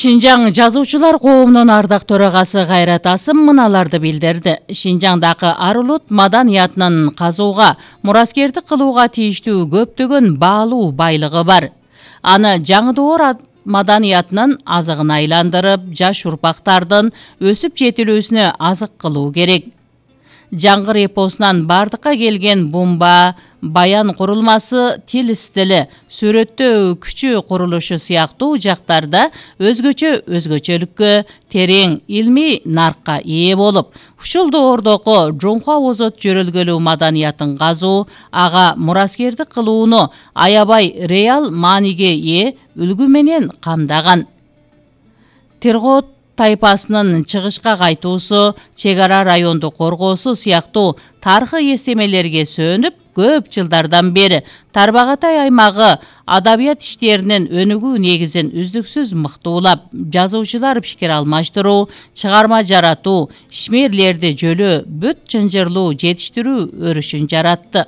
Шинжаң жазуучулар коомунун ардак төрагасы Кайрат Асым мыналарды билдирди. Шинжаңдагы ар улут маданиятынын казууга, мураскердик кылууга тийиштүү көптөгөн баалуу байлыгы бар. Аны жаңы доор маданиятынын азыгына айландырып, жаш урпактардын өсүп жетилүүсүнө азык кылуу керек. Жаңгыр эпосунан бардыкка келген бумба, баян курулмасы, тил стили, сүрөттөө күчү курулушу сыяктуу жактарда өзгөчөлүккө, терең илмий наркка ээ болуп, ушул доордогу жоңко озот жөрөлгөлүү маданиятын казуу, ага мураскердик кылууну аябай реал мааниге ээ үлгү менен камдаган. Тиргоот тайпасынын чыгышка кайтуусу, чек ара районду коргоосу сыяктуу тарыхый эстемелерге сөөнүп, көп жылдардан бери Тарбағатай аймагы адабият иштеринин өнүгүү негизин үздүксүз мыктуулап, жазуучулар пикир алмаштыруу, чыгарма жаратуу, ишмерлерди жөлөө, бүт чынжырлуу жетиштирүү өрүшүн жаратты.